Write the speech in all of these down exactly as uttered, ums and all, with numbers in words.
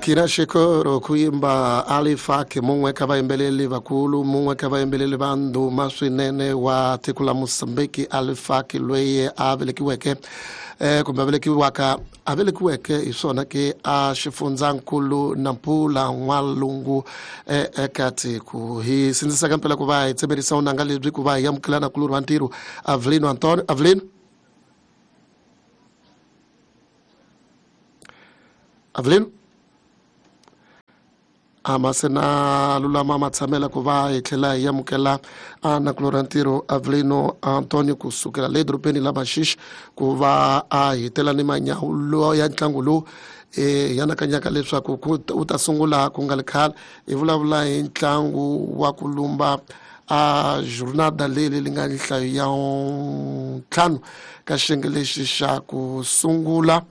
Kina xikoro ku yimba Alifaki mun'we ka vayimbeleli vakulu mun'we ka vayimbeleli va ndhuma swinene wa tiko la Mozambique Alifaki loyi a velekiweke eh kumbe a velekiwaka a velekiweke hi swona ke a xifundzankulu Nampula N'walungu eka tiko hi sindzisaka mpela ku va hi tsemerisa unanga lebyi ku va hi amukelana kulorhi wa ntirho Avelino Antonio Avelino Avelino a se na lulama matshamela ku va hi tlhela hi amukela a nakulorhi ntirho Avelino Antonio kusukela le dorobeni la Maxixe ku va a hitela ni manyawulo ya ntlangu lowu e yanakanyaka leswaku wu ta sungula ku nga ri khale hi vulavula hi ntlangu wa ku lumba a jornada leyi li nga nhlayo ya ntlhanu ka xiyenge lexi xa ku sungula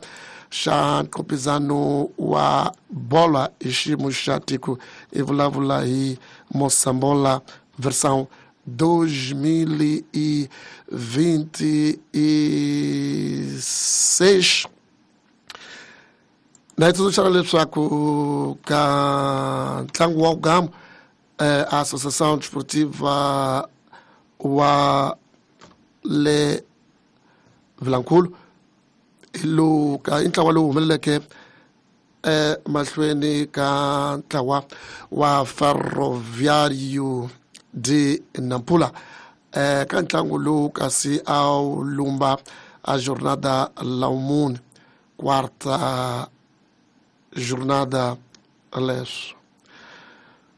xa nqopizano wa bola hi xiyimo xa tiko i vulavula hi Moçambola versão dois mil e vinte e seis na hi tsundzuxana leswaku ka ntlangu wa Gamo eh, a Associação Desportiva wa le Vilankulu lowu ka i ntlawa lowu humeleleke eh mahlweni ka ntlawa wa Ferroviário de Nampula eh ka ntlangu lowu kasi a wu lumba a jornada la mune quarta jornada leswo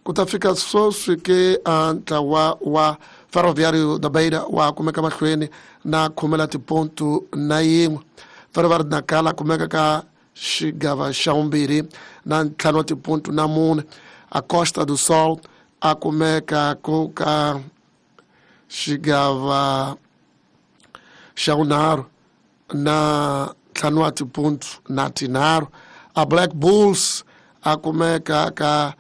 ku ta fika sweswi ke a ntlawa wa Ferroviário da Beira wa kumeka mahlweni na khumela tipontu na yin'we Ferroviário de Nacala kumeka ka xigava xa vumbirhi na ntlhanu wa tipontu na mune a Costa do Sol a kumeka ku ka xigava xa vunharhu na ntlhanu wa tipontu na tinharhu a Black Bulls a kumeka ka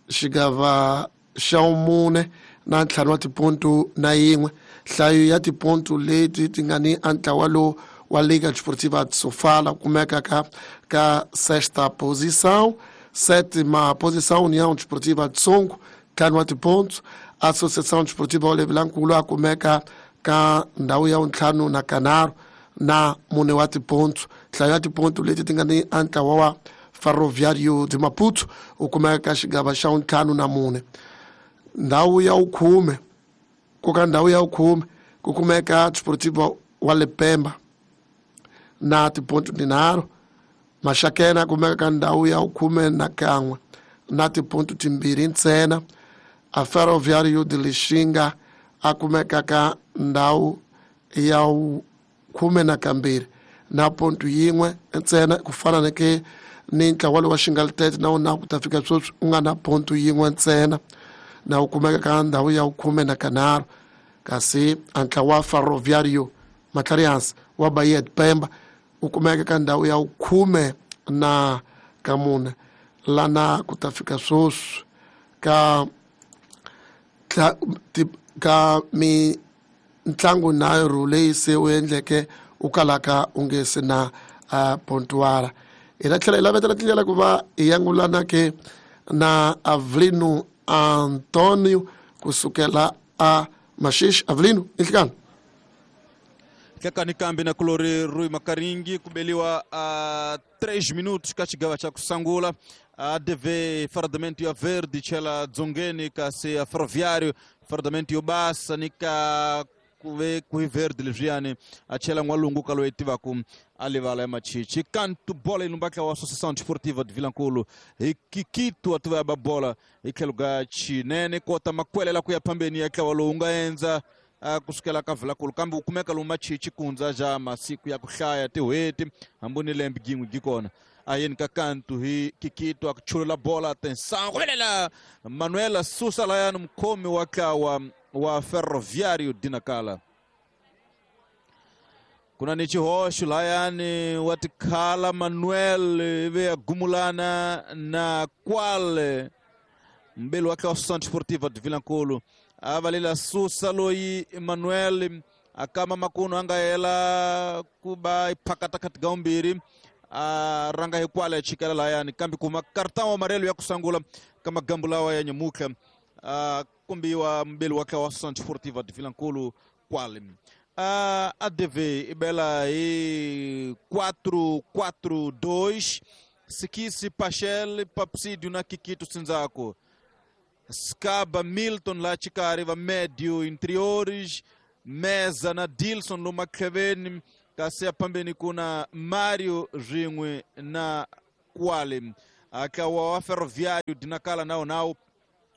xigava xa vumune na ntlhanu wa tipontu na yin'we nhlayo ya tipontu leti ti nga ni a ntlawa lowu wa Liga Desportiva de Sofala kumeka ka ka sexta posição sétima posição União Desportiva de Songo ntlhanu wa tipontu Associação Desportiva wa Vilankulu a kumeka ka ndhawu ya ntlhanu na kanharhu na mune wa tipontu nhlayo ya tipontu leti ti nga ni a ntlawa wa Ferroviário de Maputo u kumeka ka xigava xa ntlhanu na mune ndhawu ya vukhume ku ka ndhawu ya vukhume ku kumeka Desportiva wa Lepemba na tipontu tinharhu Maxakena kumeka ka ndhawu ya khume na kan'we na tipontu timbirhi ntsena a Ferroviário de Lixinga a kumeka ka ndhawu ya khume na kambirhi na pontu yin'we ntsena ku fana na ke ni ntlawa lowu wa Xingalutete na wona ku ta fika sweswi u nga na pontu yin'we ntsena na wu kumeka ka ndhawu ya khume na kanharhu kasi a ntlawa wa Ferroviário Matlarihansi wa Bahia de Pemba u kumeka ka ndhawu ya khume na ka mune lana ku ta fika sweswi ka ka mintlangu nharhu leyi se u endleke u kalaka u nge se na uh, pontuara hi ta tlhela hi lavetela tindlela ku va hi yangulana ke na Avelino Antonio kusukela a Maxixe Avelino inhlikani Hlekani kambi na kulori Rui Makaringi kubeliwa a uh, três minutos ka xigava xa ku sungula a D V fardamento ya verde chela dzongeni kasi a Ferroviário fardamento yo basa ni ka kuve ku verde leswiyani a chela N'walungu ka loyi tivaku a livala ya Machichi kantu bola ilumbaka wa Associação Desportiva de Vilankulu hi Kikito atuva ya babola hi tlhelo ka Chinene kota makwelela ku ya phambeni ya ntlawa lowu nga endza kusukela ka Vilankulu kambe wu kumeka lomu Machichi kundza ja masiku ya ku hlaya tin'hweti hambi ni lembe yin'we yi kona ayeni ka kantu hi Kikito a ku chulula bola atenção kuvelela Manuela Susa layani mukhomi wa ntlawa wa Ferroviário de Nacala kuna ni xihoxo layani wa tikhala Manuel ivi ya gumulana na Kwale mbeli wa ntlawa Associação Desportiva de Vilankulu a valela Susa loyi Manuel akama makuno a nga hela ku va yi phakata kati ka vumbirhi a ranga hi kwale chikela layani kambe kuma cartão amarelo ya kusangula kama gambu lawa ya nyamuka a kumbiwa mbele wa wa Associação Desportiva de Vilankulo kwale a A D V ibela e quatro quatro dois Sikisi Pachel Papsídio na Kikito Sinzako Scaba Milton lá chikari va médio interiores Meza na Dilson Luma Kevin kasi pambeni kuna Mario Ringwe na Kwale akawa wa Ferroviário dinakala nao nao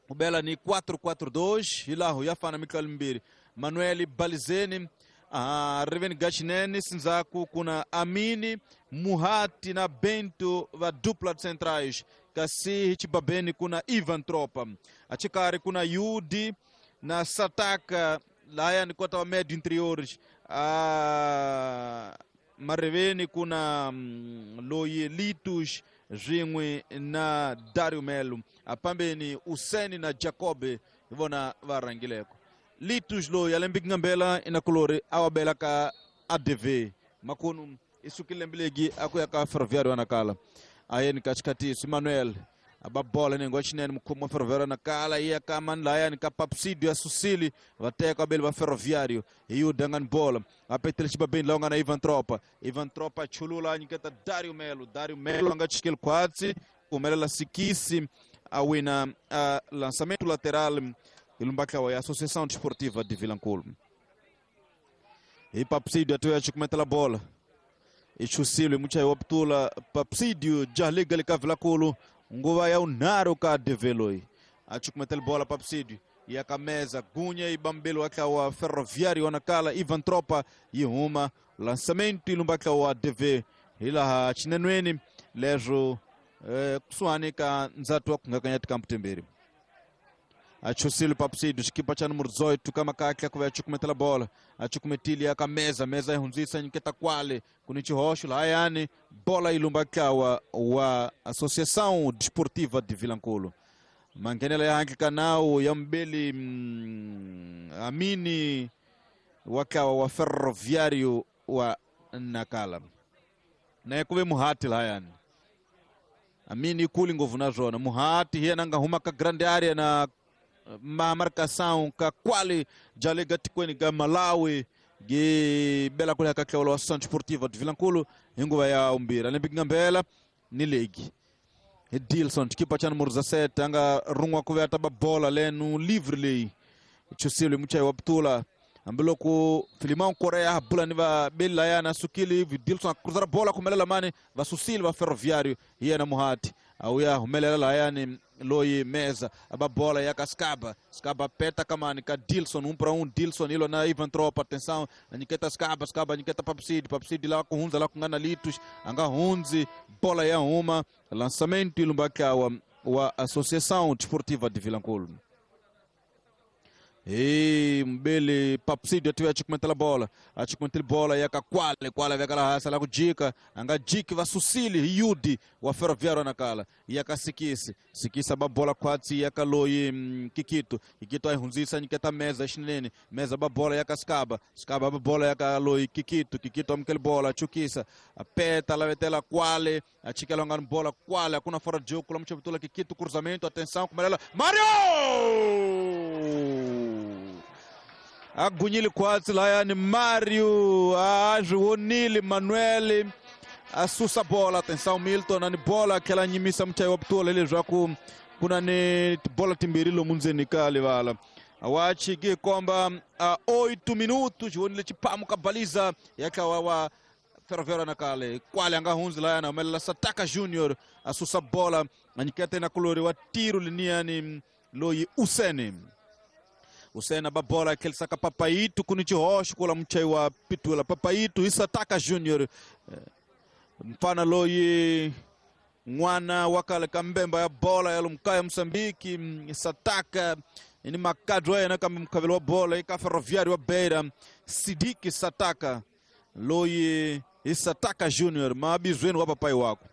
ubela ni quatro quatro dois hilahu yafana Mikael Mbiri Manuel Balizeni ah, Reven Gachinene Sinzaku kuna Amini Muhati na Bento va dupla centrais kasi hichibabeni kuna Ivan Tropa achikari kuna Yudi na Sataka laya ni kota wa médio interiores ah, mareveni kuna mm, Loye Litus Ringwe na Dario Melo apambeni Useni na Jacobe ivona varangileko Litus lo yalembiki ngambela inakulori awabela ka A D V makunu isukilembelegi akuya ka Ferroviário anakala ayeni katikati Manuel ababola nengo chinene mukhomo wa Ferroviário nakala iya ka manlaya ni ka Papsidio ya Susili vateka abeli va Ferroviário iyo dangani bola apetele chibabeni lawa na Ivan Tropa Ivan Tropa chulula nyiketa Dario Melo Dario Melo anga chikele kwatsi kumelela Sikisi awina uh, lançamento lateral ilumbaka ya Associação Desportiva de Vilankulo e Papsidio atoya chikumetela bola ichusilo mucha waptula Papsidio jaliga lika nguva ya unaro ka develoi achukumetela bola Papsidio yakameza gunya ibambelo akawa Ferroviário wanakala Ivan Tropa yihuma lançamento ilumbaka wa D V ilaha chinenweni lezo eh, kusuani ka nzatu wa kungakanyati kamputemberi achusilo Papsidio chikipa cha número dezoito kama kakya kuva achukumetela bola achukumetili akameza meza ihunzisa nyiketa kwale kunichihosho layani bola ilumbakawa wa Associação Desportiva de Vilankulo mangenela ya hanki kanao ya mbeli mm, Amini wakawa wa Ferroviário wa Nakala naye kuve muhati layani Amini kuli nguvu nazona muhati hiya nanga huma ka grande area na ma marcação ka kwale jalega tikweni ga Malawi ge bela kule kakela wa Associação Desportiva de Vilankulo inguva ya umbira lembiki ngambela ni legi Dilson chikipa cha número dezassete anga rungwa kuveta ba bola lenu livre lei chusilo muchai waptula ambiloko Filimão Korea bula ni va bela ya na sukili Dilson cruzar bola kumelela mane va Susili va Ferroviário hiya na Muhati auya humelela la yani loyi meza aba bola ya Skaba Skaba peta kamani ka Dilson um para um Dilson ilo na Ivan Tropa atenção niketa Skaba Skaba niketa Papsidi Papsidi lá com hunza lá com Litos anga hunzi bola ya uma lançamento ilumbaka wa, wa Associação Desportiva de Vilankulo E mbele Papsidio atiwe achikumetela bola achikumetela bola yaka kwale kwale vekala hasa la kujika anga jiki va Susili Yudi wa Ferroviário nakala yaka Sikisi Sikisa ba bola kwatsi yaka loyi mm, Kikito Kikito ayihunzisa nyiketa meza xinene meza ba bola yaka Skaba Skaba ba bola yaka loyi Kikito Kikito amukele bola chukisa apeta lavetela kwale achikela ngani bola kwale akuna fora de jogo kula mchapitula Kikito cruzamento atenção kumelela Mario agunyile kwatsi layani Mario azvionile Manuel asusa bola atenção Milton ani bola aquela nyimisa muchai wa putula leswaku kuna ni bola timbirhi lomu ndzeni ka livala wachiki komba oito minutos xionile chipamu ka baliza yakawa wa Ferroviário nakale kwale anga hunzi layana humelela Sataka Junior asusa bola anyikete na kulori wa tiro liniani loyi Useni Usena babola aquele saca Papaito kunichihosho kula mchai wa pitula Papaito Isataka Junior mfana loyi mwana wakale kambemba ya bola ya lumkaya Msambiki Sataka ni makadro yana kama mkavelo wa bola ika Ferroviário wa Beira Sidiki Sataka loyi Isataka Junior mabizweni wa papai wako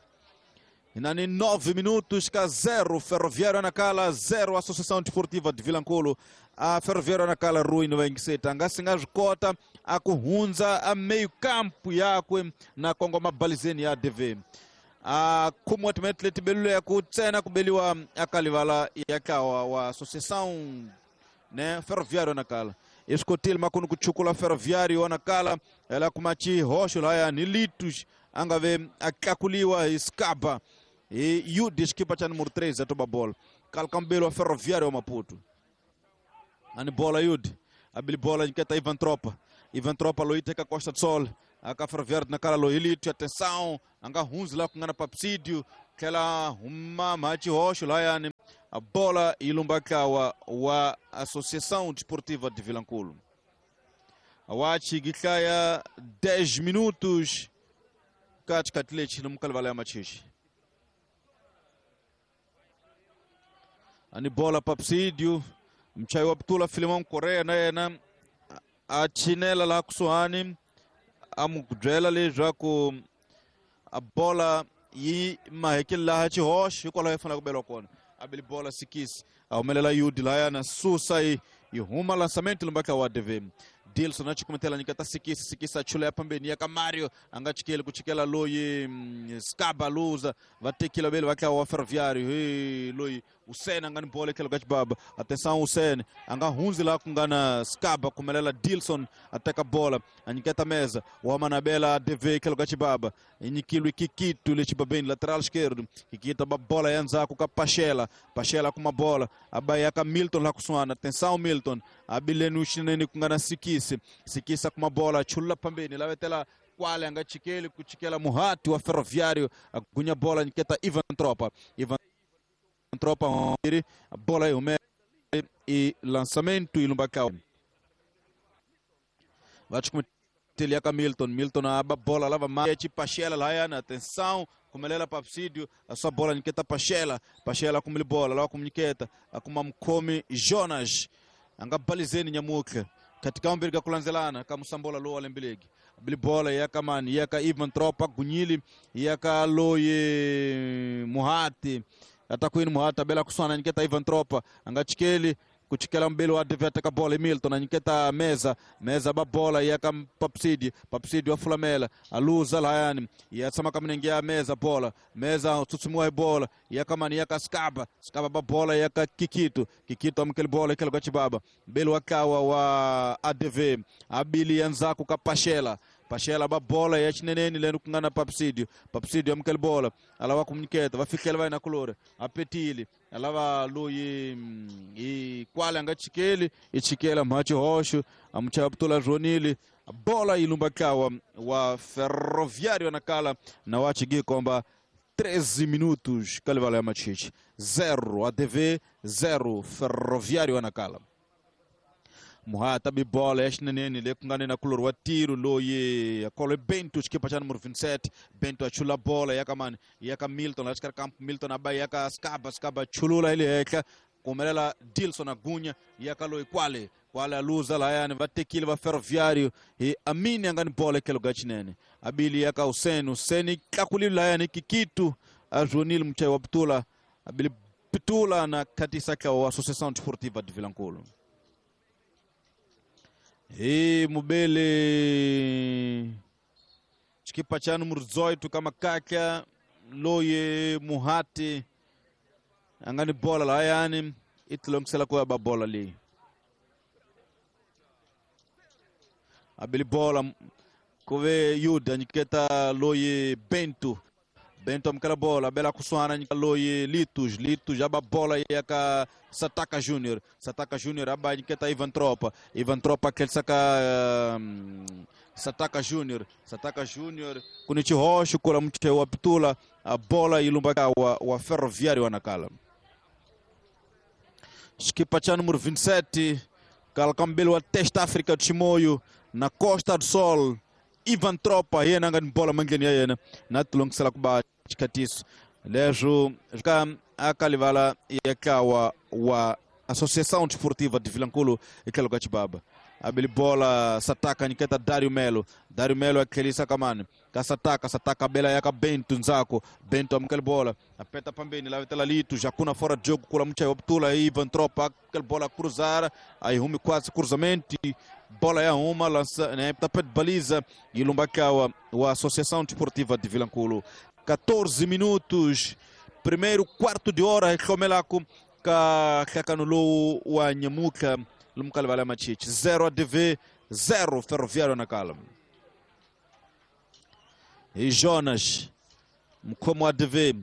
Nani nove minutos ka zero Ferroviário Nacala, zero Associação Desportiva de Vilanculo. A Ferroviário Nacala Rui no Engiseta. Ngasinga zvikota a kuhunza a meio campo yakwe na kongoma balizeni ya A D V. A kumwatimete letibelule ya kutsena kubeliwa akalivala yakawa wa Associação, né, Ferroviário Nacala. Escotil makunu kuchukula Ferroviário Nacala ela kumachi hosho laya nilitus angave akakuliwa iskaba e Yudi skipa cha número três atoba bola. Calcambelo Ferroviário Maputo. Ani bola Yudi. Abili bola nketa Ivan Tropa. Ivan Tropa loiteka Costa do Sol. Aka Ferroviário Nacala loilito, atenção, anga hunzi lá kungana papsídio, kela huma machi hosho laya ni a bola ilumbakawa wa Associação Desportiva de Vilanculo. Awachi giklaya dez minutos katikati no mukalivala machichi. Ani bola papsídio, mchai wa Ptula Filimão Correia na na a chinela lá kusuani amukudrela le jaku a bola yi mahekele la hachi hosh ikola yefana kubelwa kona. Abili bola sikisi aumelela Yudi la na susa i huma lançamento lumbaka wa A D V. Dilson achikumetela nikata sikisi sikisi achula ya pambeni ya Kamario angachikele kuchikela loyi skaba luza vatekila bele vaka wa Ferroviário he loyi Usene angani bola kelo gachibaba atenção Usene anga hunzi la kungana skaba kumelela Dilson ateka bola aniketa mesa wa manabela A D V kelo gachibaba inikilwi kikitu le chibabeni lateral esquerdo kikita ba bola yanza ku Pachela Pachela kuma bola abayaka Milton la kusuana atenção Milton abilenu ushineni kungana sikisi Sikisa kuma bola chula pambeni lavetela kwale anga chikeli kuchikela muhati wa Ferroviário agunya bola niketa Ivan Tropa Ivan Tropa bola yume e lançamento ilumbakao vachukumeteliaka Milton Milton aba bola lava machi Pachela laiana atenção kumelela papsídio a sua bola niketa Pachela Pachela kumili bola lawa kumniketa akuma mkomi Jonas anga balizeni nyamuke katika mbirga kulanzelana kamusambola lo alembilegi bili bola yaka mani yaka Ivan Tropa gunyili yaka loye muhati atakwini muhati abela kuswana niketa Ivan Tropa angachikeli kuchikela mbele wa D V ataka bola Milton aniketa meza meza ba bola yaka papsidi papsidi wa fulamela aluza layani yatsama kamnengia meza bola meza tsutsumwa bola yaka mani yaka skaba skaba ba bola yaka kikito kikito amkele bola ikelo gachibaba mbele wakawa wa A D V abili yanzaku kapashela Pachela ba bola ya chineneni lendo kungana papsídio papsídio amkele bola alawa kumniketa vafikela vai na colora apetili alava loyi e kwale anga chikeli ichikela machi hosho amchaptula jonili bola ilumbakawa wa Ferroviário Nacala na wachigi komba treze minutos kalivala ya machichi zero A D V zero Ferroviário Nacala Muhata bibola yashinenene le kungane na kulor wa tiro loye akolo Bento chikipa cha número vinte e sete Bento achula bola yakamani yaka Milton lachikar campo Milton abai yaka skaba skaba chulula ile eka kumelela Dilson agunya yaka loye kwale kwale aluza layani vatekile va Ferroviário e amini angani bola kelo gachinene abili yaka Useni Useni kakulili layani kikitu ajonil mchai wa Ptula abili Ptula na katisa kwa Associação Desportiva de Vilanculo. E mubele chikipa cha número dezoito kama kaka loye muhati angani bola la yani itlongisela kwa ba bola li abili bola kove Yuda niketa loye Bento Bento amkala bola bela kuswana loye Litus Litus aba bola yaka Sataka Júnior Sataka Júnior aba niketa Ivan Tropa Ivan Tropa aquele saka um, Sataka Júnior Sataka Júnior kunichi hosho kola mche wa Ptula a bola ilumbaka wa, wa Ferroviário Nacala Skipa cha número vinte e sete Calcambelo wa Testa África de Chimoio na Costa do Sol Ivan Tropa yena ngani bola mangeni yena na tulongisela kuba chikatiso lejo ka akalivala yakawa wa Associação Desportiva de Vilanculo ikelo gachibaba Abili bola Sataka nyiketa Dario Melo. Dario Melo akhelisa kamani. Ka Sataka, Sataka bela yaka Bento nzako. Bento amkele bola. Apeta pambeni la vetela Lito, já kuna fora de jogo kula mcha Optula Ivan Tropa, aquela bola cruzar, aí rume quase cruzamento. Bola ya uma lança, né, tapete baliza e Lumbakawa, a Associação Desportiva de Vilankulo. quatorze minutos, primeiro quarto de hora, Recomelako ka kakanulu wa Nyamuka lumkalivala machichi zero A D V zero Ferroviário Nacala. E Jonas mkomo A D V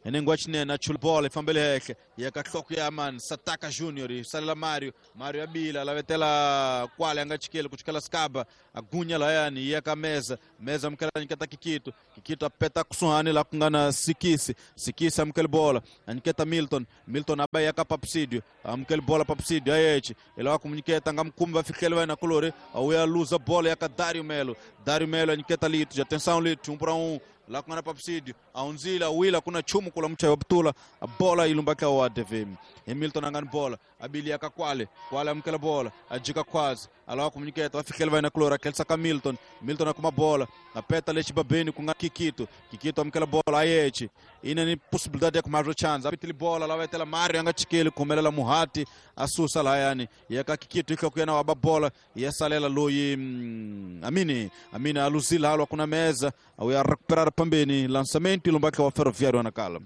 enengwachine na chulbola ifambele heke yakatloko ya man Sataka Junior salela Mario Mario abila lavetela kwale angachikele kuchikela skaba agunya la yani yaka meza meza mkela nikata kikito kikito apeta kusuhani la kungana sikisi sikisi amkele bola aniketa Milton Milton abai yaka Papsidio amkele bola Papsidio ayechi ela wakumniketa ngamkumba fikele vai na colore au ya luza bola yaka Dario Melo Dario Melo aniketa Lito atenção Lito um para um lá kuna Papsidio aunzila wila kuna chumu kula mcha wabtula bola ilumbaka wa A D V Hamilton angani bola abili akakwale kwale amkela bola ajika kwazi alawa kumniketa wafikele vai na klora kelsa ka Milton Milton akuma bola apeta lechi babeni kunga Kikito Kikito amkela bola ayechi ina ni possibilidade ya kumarro chance apitili bola la vetela Mario anga chikele kumelela Muhati asusa la yani yaka Kikito ikakuyana waba bola yasalela loyi mm, Amini Amini aluzila halwa kuna meza au ya recuperar pambeni lançamento ilumbaka wa Ferroviário Nacala.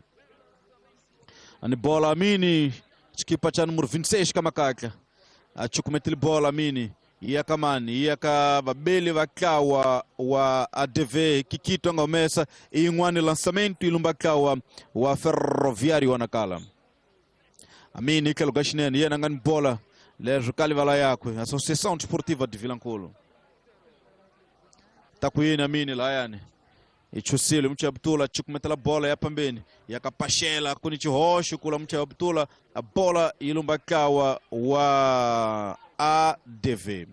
Ani bola Amini chikipa cha número vinte e seis kamakaka achukumetili bola Amini iyakamani iyaka babeli vakawa wa A D V Kikito angomesa ingwani lançamento ilumbaka wa, wa Ferroviário Nacala. Amini kelugashinen yena ngani bola lejo kalivala yakwe Associação Desportiva de Vilankulo. Takuyini Amini la yani ichusile mcha Abdula chukumetela bola ya pambeni yakapashela kuni chihosho kula mcha Abdula a bola ilumbakawa wa A D V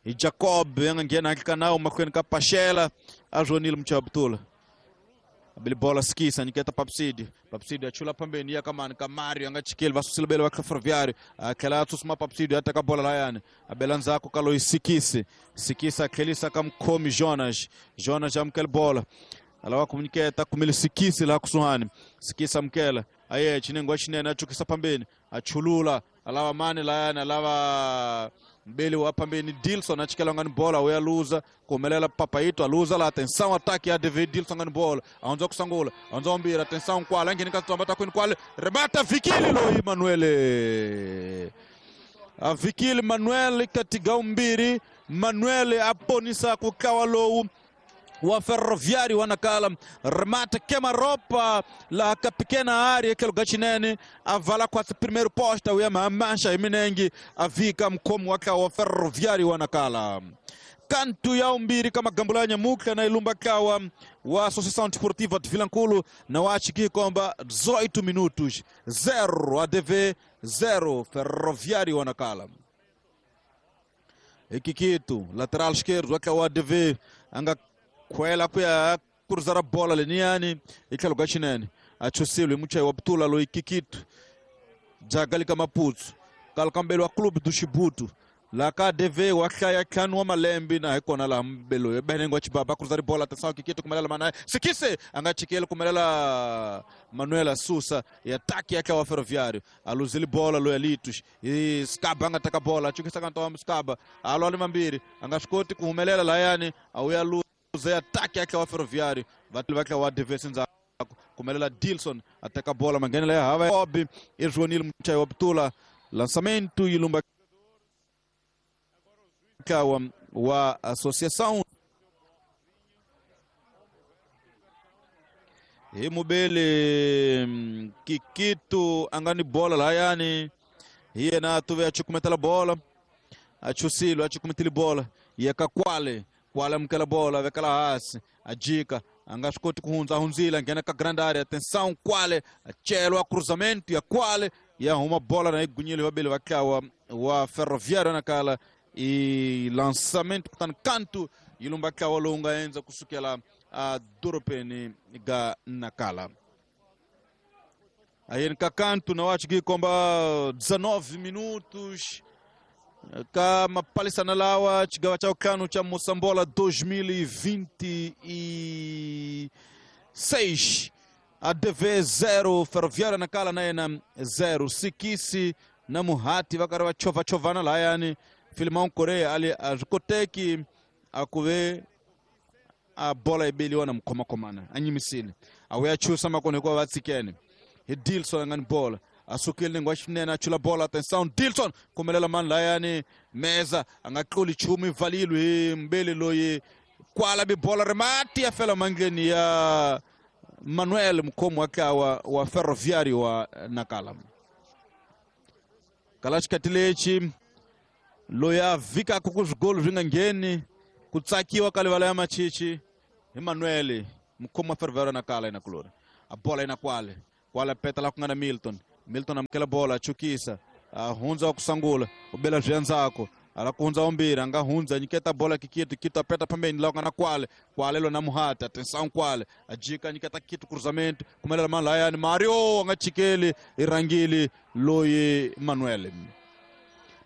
e Jacob yangena kanao makweni kapashela ajonil mcha Abdula abili bola skisa niketa Papsidi Papsidi achula pambeni yakamani Kamario angachikele vasusile bele wa Ferroviário akela atusuma Papsidi ataka bola la yani abelanzako kalo isikisi sikisa akelisa kamkomi Jonas Jonas amkele bola alawa komuniketa kumile sikisi la kusuhani sikisa mkela aye chinengwa chinene achukisa pambeni achulula alawa mani la yani alawa mbele wa pambeni Dilson achikela ngani bola uyaluza kumelela Papaito aluza la atenção ataque a D V Dilson ngani bola aonza kusangula aonza ombira atenção kwala ngeni katamba takwini kwale remata Vikili lo Manuel a Vikili Manuel katiga umbiri Manuel aponisa kukawa lowu wa Ferroviário Nacala remata queima-roupa lá a pequena área que lugar chinene avala quase primeiro posta o yama mancha iminengi avika mkomo waka wa Ferroviário Nacala kantu ya umbiri kama gambulanya muka na ilumba kawa wa Associação Desportiva de Vilankulo na wachiki komba dezoito minutos zero A D V zero Ferroviário Nacala Ikikito lateral esquerdo waka wa A D V anga kwela kuya cruzar a bola leniani ikalo chinene achusile mucha wabtula lo Ikikito jagalika Maputo kalkambelo wa clube do Chibuto la K D V wakaya kanwa malembi na hekona la mbelo benengo chibaba cruzar bola atenção Kikito kumelela manaye sikise angachikele kumelela Manuela Susa e ataque yake wa Ferroviário aluzili bola lo Elitos e Skaba angataka bola chukisa kantoa Skaba aloli mambiri angashikoti kumelela la yani au ya Zé ataque yake wa Ferroviário vai wa D V senza kumelela Dilson ataka bola mangene la hava Obi e Joanil Mchayo Abdula lançamento ilumba kawa wa Associação e mubele Kikito angani bola la yani hiena tuve achukumetela bola achusilo achukumetela bola yakakwale kwale mkela bola vekala hasi ajika angashikoti kuhunza hunzila ngena ka grande área atenção kwale achelo a cruzamento ya kwale ya uma bola na igunyile wabele wakawa wa Ferroviário Nacala e lançamento kutan canto ilumba kawa longa enza kusukela a Duropeni ga Nacala aí nka canto na wachiki komba dezenove minutos Ka mapalisana lawa xigawa xa vutlhanu xa Mosambola dois mil e vinte e seis. A D V zero, Ferroviária Nacala na yena zero. Sikisi na Muhati va karhi va chovachovana lahayani. Filimão Korea ali a swi koteki a ku ve a bola yi beliwa na mukhomakhomana a nyimisile a wu ya chusa makona hikuva va tshikene hi Dilson a nga ni bola a sukile nenge wa xinene a chula bola atenção Dilson kumelela mani lahayani Meza a nga tluli nchumu yi valile hi mbeli loyi kwala bi bola ri mati ya fela mandleni ya Manuel mukhomi wa ntlawa wa Ferroviário wa Nacala. Kala xikati lexi loyi a vhikaka ku swigolo swi nga ngheni ku tsakiwa ka livala ya machichi hi Manuel mukhomi wa Ferroviário Nacala yena kulori a bola yena kwale kwale peta la ku nga na Milton. Milton amukela bola a chukisa a hundza wa ku sungula u bela swi endzhaku ala ku hundza wambirhi a nga hundza nyiketa bola Kikitu Kitu a peta phambeni laha ku nga na kwale kwale lona Muhati atenção kwale a jika nyiketa Kitu cruzamento kumelela mani lahayani Mario a nga chikeli i rhangile loyi Manuel.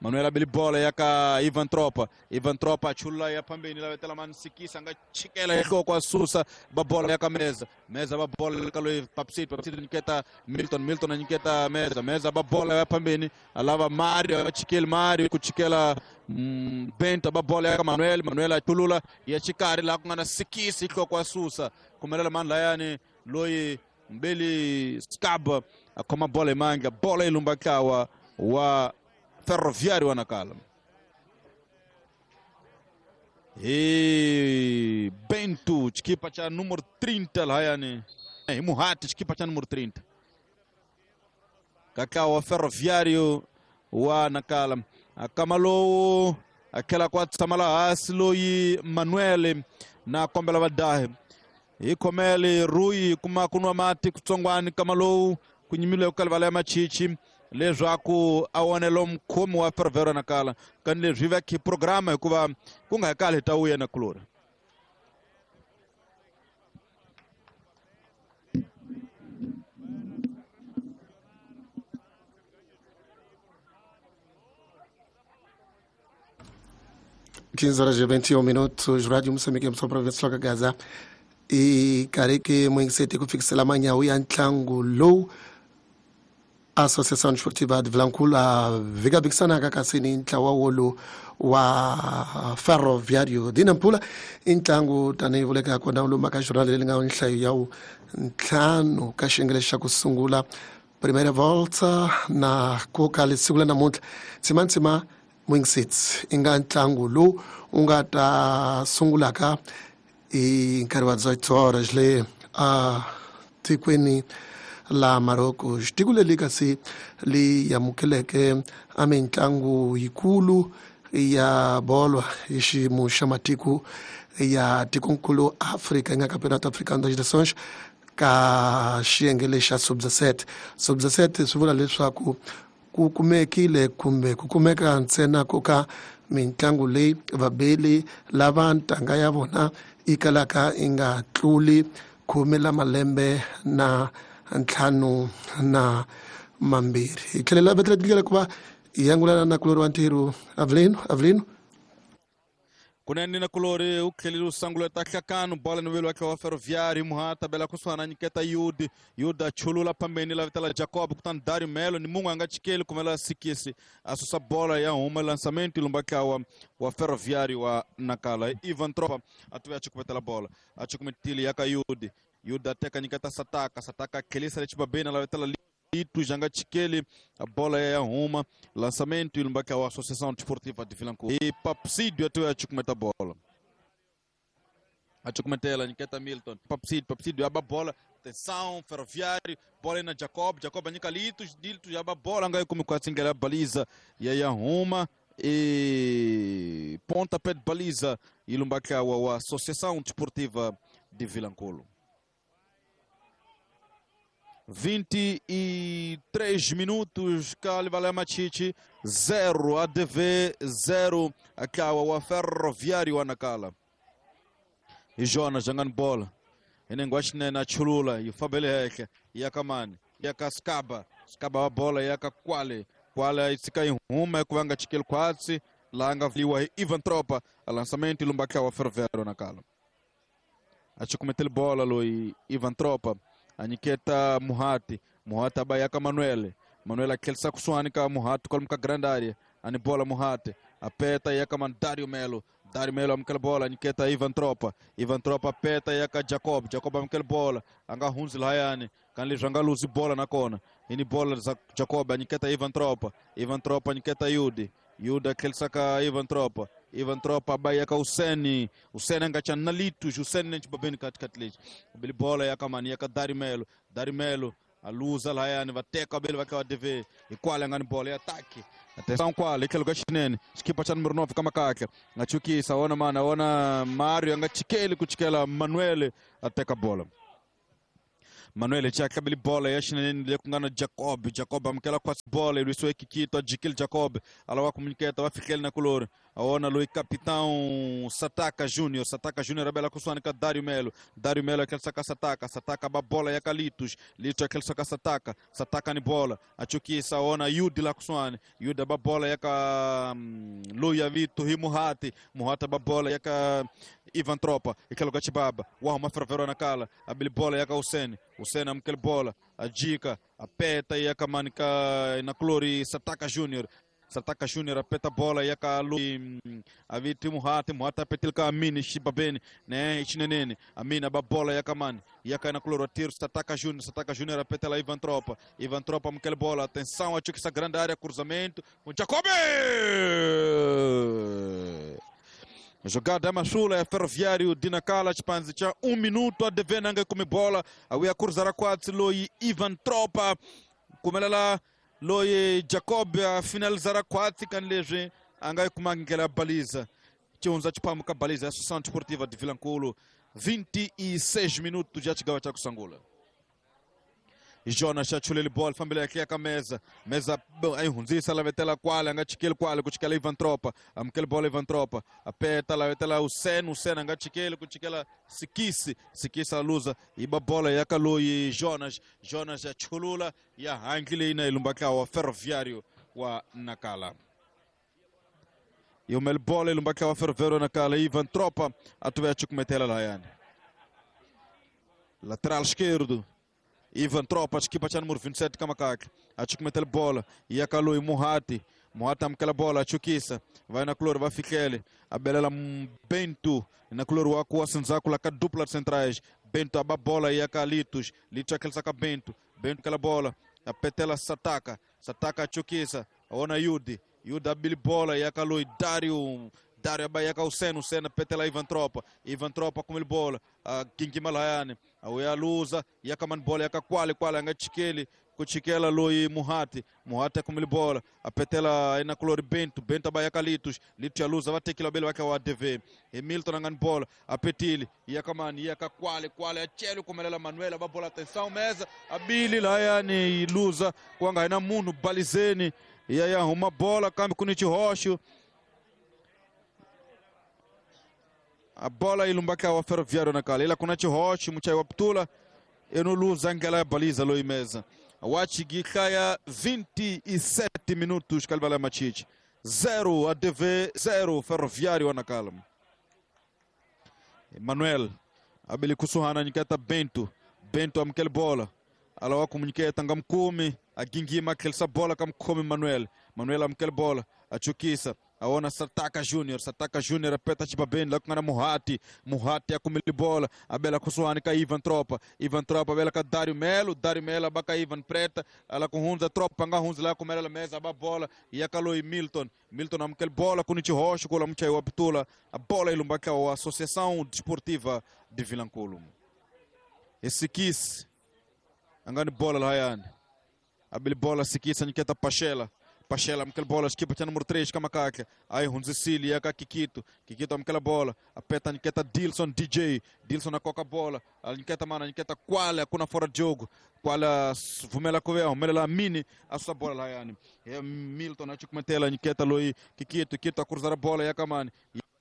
Manuel a beli bola ya ka Ivan Tropa. Ivan Tropa a chula ya phambeni la vetela mani Sikisa a nga chikela hi nhloko a susa ba bola ya ka Meza. Meza ba bola ka loyi Papsito. Papsito nyiketa Milton. Milton a nyiketa Meza. Meza ba bola ya phambeni a lava Mario a chikeli Mario ku chikela mm, Bento ba bola ya ka Manuel. Manuel a chulula ya xikarhi laha ku nga na Sikisi hi nhloko a susa kumelela mani lahayani loyi Mbeli Scab a khoma bola hi mandla bola yi lumba ntlawa wa Ferroviário wa Nacala. E Bento, xikipa xa número trinta lahayani. Hi Muhati, xikipa xa número trinta. Ka ntlawa wa Ferroviário wa Nacala. A kama lowu a tlhela ku a tshama laha hansi loyi Manuel na kombela vadahi. Hi khomele Rui kuma ku nwa mati kutsongwani kama lowu ku nyimile ku livala ya machichi leswaku a onelo mukhomi wa Ferroviário Nacala kani leswi va khi programa hikuva ku nga kali hi ta wuya na kulori. quinze horas e vinte e um minutos, Rádio Moçambique, só para ver só Gaza. E kareke mwingisete kufikisela manyawu ya ntlangu lowu Associação Desportiva de Vilanculo a vikavikisanaka kasi ni ntlawa wolowu wa Ferroviário de Nampula i ntlangu tanihi vuleka kona lomu ka jornal leri nga nhlayo ya wu ntlhanu ka xiyenge lexi xa ku sungula primeira volta na ku ka siku la namuntlha tsimantsima Mwingiseti i nga ntlangu lowu wu nga ta sungulaka hi nkarhi wa dezoito horas le a tikweni la Marocco. Tiko leri kasi li amukeleke a mitlangu yikulu ya bolo hi xiyimo xa matiko ya tikonkulu Afrika yi nga Campeonato Africano das Nações ka xiyenge lexa sub dezessete. Sub dezessete swi vula leswaku ku kumekile kumbe ku kumeka ntsena ku ka mitlangu leyi vabeli lava ntanga ya vona yi kalaka yi nga tluli khume la malembe na ntlhanu na mambirhi. Hi tlhelela vetela tindlela ku va hi angulana na kulori wa ntirho Avelino. Avelino kunene na kulori u tlhelile u sungula ta hlakano bola ni velo wa wa Ferroviário Muhata bela kusuhana nyiketa Yudi Yuda chulula phambeni la vitala Jacob kutani Dario Melo ni munhu a nga chikeli kumela Sikisi a susa bola ya huma lançamento lumba ntlawa wa Ferroviário wa Nacala. Ivan Tropa a tuya chikumetela bola a chikumetile ya ka Yudi Yuda teka nyiketa Sataka Sataka tlhelisa lechibabeni la vitala Litu janga chikeli a bola ya huma lançamento e lumba wa Associação Desportiva de Vilanculo. E Papsídio até a chukumeta bola. A chukumetela nyiketa Milton. Papsídio, Papsídio aba bola. Atenção, Ferroviário, bola na Jacob, Jacob nyika Litu, Litu aba bola ngai como quase ngela baliza ya ya huma e pontapé de baliza e lumba wa Associação Desportiva de Vilanculo. vinte e três minutos, Cali Machichi, zero, A D V zero, Akawa, wa Ferroviário wa Nacala. E Jonas jangando bola, Enenguachine na Chulula, e o Fabele Heke, e a Kamani, e a Cascaba, Scaba a bola, e a Kwale, Kwale e se cai rumo, é Kuanga Chiquel Quatse, Laha nga vliwa hi Ivan Tropa a lançamento lumbaxa wa Ferroviário Nacala. A chukumetele bola loyi Ivan Tropa a nyiketa Muhati, Muhati abayaka Manuel, Manuel atlhelisa kusuhani ka Muhati kwalomu ka grande area, ani bola Muhati apeta yaka man Dario Melo, Dario Melo amukela bola nyiketa Ivan Tropa, Ivan Tropa apeta yaka Jacob, Jacob amukela bola anga hundzi lahayani kan leswi anga luzi bola nakona ini bola za Jacob anyiketa Ivan Tropa, Ivan Tropa anyiketa Yudi, Yuda atlhelisa ka Ivan Tropa, Ivan Tropa abayaka Useni, Useni anga chana na Litus, Useni ne chibabeni katikati lexi bili bola yaka mani yaka Dario Melo, Dario Melo aluza lahayani va teka bele va ka D V hikwala nga ni bola ya ataki. Atenção kwala itlhelo ka xinene xikipa xa numero nove ka makakla nga chukisa wona mana wona Mario anga chikeli ku chikela Manuel a teka bola. Manuel xa tlabeli bola ya xinene le ku nga na Jacob, Jacob amukela khwatsi bola yi lwisiwe Kikito a jikile Jacob a lava ku munyiketa va fihleli na kulori a wona loyi capitão Sataka Júnior, Sataka Júnior abela kusuhani ka Dario Melo, Dario Melo atlhelisa ka Sataka, Sataka ba bola ya ka Litus, Litus atlhelisa ka Sataka, Sataka ni bola a chukisa wona Yudi la kusuhani, Yudi ba bola ya ka um, loyi a vito hi Muhati, Muhati ba bola ya ka Ivan Tropa itlhelo ka Chibaba wa huma Ferroviário Nacala abeli bola ya ka Useni, Useni amukela bola a jika apeta ya ka mani ka na Clori Sataka Júnior, Sataka Júnior apeta bola ya ka Lu aviti Muhati, Muhati apetil ka Amini Xibabeni né Xinenene Amini aba bola ya ka mani ya ka na Cloro tiro Sataka Júnior, Sataka Júnior apeta lá Ivan Tropa, Ivan Tropa amukela bola, atenção a essa grande área cruzamento com Jacob. Jogada ya mashula ya Ferroviário de Nacala chipanzi cha um minuto a dever nanga kumi bola awiya cruzar kwatsi loyi Ivan Tropa kumelela loyi Jacob a finalizar kwatsi kan leswi anga yi ndlela ya baliza chihundza chiphamu ka baliza ya Associação Desportiva de Vilankulo vinte e seis minutos já chigava cha kusangula. Jonas achulele bola fambele aqui a mesa mesa aí hundzisa la vetela kwale anga chikeli kwale kuchikela Ivan Tropa amukele bola Ivan Tropa apeta la vetela Useni, Useni anga chikeli kuchikela Sikisi, Sikisi aluza iba bola yakaloyi Jonas, Jonas achulula ya hangile ina ilumbaka wa Ferroviário wa Nacala. Yumel bola ilumbaka wa Ferroviário Nacala Ivan Tropa atuve achikumetela layani lateral esquerdo Ivan Tropa, equipa cha número vinte e sete Kamakak, achukumetele bola, iakalui Muhati, Muhati amkela bola, achukisa, vai na cloro, vai fiquele, abelela Bento, na cloro waku asenzaku la dupla de centrais, Bento aba bola iaka Litus, Litus aquele saca Bento, Bento aquela bola, apetela Sataka, Sataka achukisa, ona Yudi, Yudi abili bola iakalui Dario, Dario abayaka Useni, Useni petela Ivan Tropa, Ivan Tropa com ele bola, a Kinki Malayane, a Uia Luza, yaka man bola yaka kwale kwale anga chikeli, kuchikela loi Muhati, Muhati com ele bola, a petela ina color Bento, Bento abayaka Litus, Litus Luza vai ter que labelo vai o A D V, Hamilton angan bola, a petili, yaka man, yaka kwale kwale achelo como ela Manuela, ba bola atenção mesa, a Billy Layane Luza, kwanga ina munu balizeni, yaya uma bola kambi kunichi rocho. A bola ilumbaka wa Ferroviário Nacala. Ila kuna chihochi muchai wa ptula eno luza ngala baliza loi mesa. Wachi gikaya vinte e sete minutos kalbala machichi. Zero A D V, zero Ferroviário Nacala. Emanuel abili kusuhana nyikata Bento, Bento amkel bola. Alawa kumunyiketa ngamkumi agingima kelsa bola kamkumi Manuel. Manuel amkel bola achukisa aona Sataka Júnior, Sataka Júnior apeta chibabeni lá com a Muhati, Muhati akumili bola, abela kusuhani ka Ivan Tropa, Ivan Tropa abela ka Dario Melo, Dario Melo abaka Ivan Preta, ela com hunza tropa nga hunza lá com ela mesa aba bola e akaloi Milton, Milton amkel bola kunichi rocho kola mchai waptula, a bola ilumbaka a Associação Desportiva de Vilankulo. Esse quis angani bola lá yani. Abili bola sikisa niketa Pachela. Pachela amkel bola equipa tinha número três Kamakaka. Aí Hunzicili yaka Kikito, Kikito amkel bola, apeta niketa Dilson D J, Dilson a coca bola, a niketa mana niketa Quala kuna fora de jogo. Quala vumela kove, vumela la mini a sua bola lá yani. E Milton a chikumetela niketa loi Kikito, Kikito a cruzar a bola yaka mani.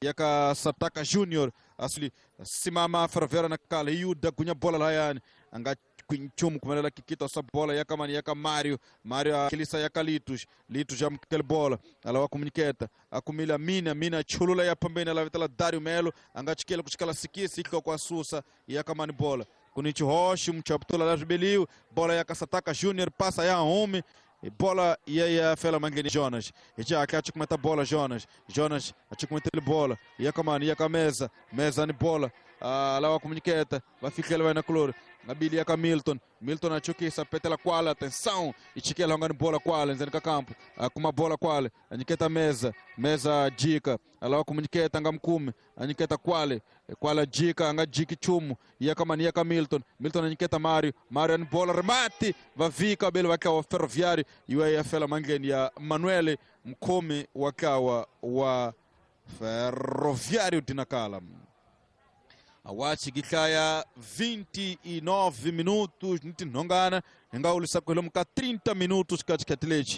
Yaka Sataka Júnior asli simama Ferroviário Nacala, Yuda cunha bola lá yani. Anga kwinchumu kumelela kikita sa bola yakamani yaka Mario Mario akilisa yaka Litos Litos amukele bola alawa kumuniketa akumila Mina Mina chulula ya pambeni alavitala Dario Melo angachikela kuchikala sikisi iko kwa susa yakamani bola kunichi Rocha mchaputula la Ribeliu bola ya Kasataka Júnior passa ya Home bola e aí a Fela Mangeni Jonas e já aqui a cometa bola Jonas Jonas a cometa bola e a kamani e a mesa mesa ni bola ah, lá a comuniqueta vai ficar ele vai na color na bilia ka Milton Milton achukisa petela kwala atenção e chikela ngani bola kwala nzeni ka campo kuma bola kwale aniketa mesa mesa jika alawa kumuniketa nga mkumi aniketa kwale kwala jika anga jiki chumu ya kama ni ya Milton Milton aniketa Mario Mario ani bola remate vavika bele wakawa Ferroviário iwe ya Fela Mangeni ya Manuel mkumi wakawa wa Ferroviário de Nacala. Awachi gihlaya vinte e nove minutos nitinhongana hinga ulisakwelo muka trinta minutos katikati lechi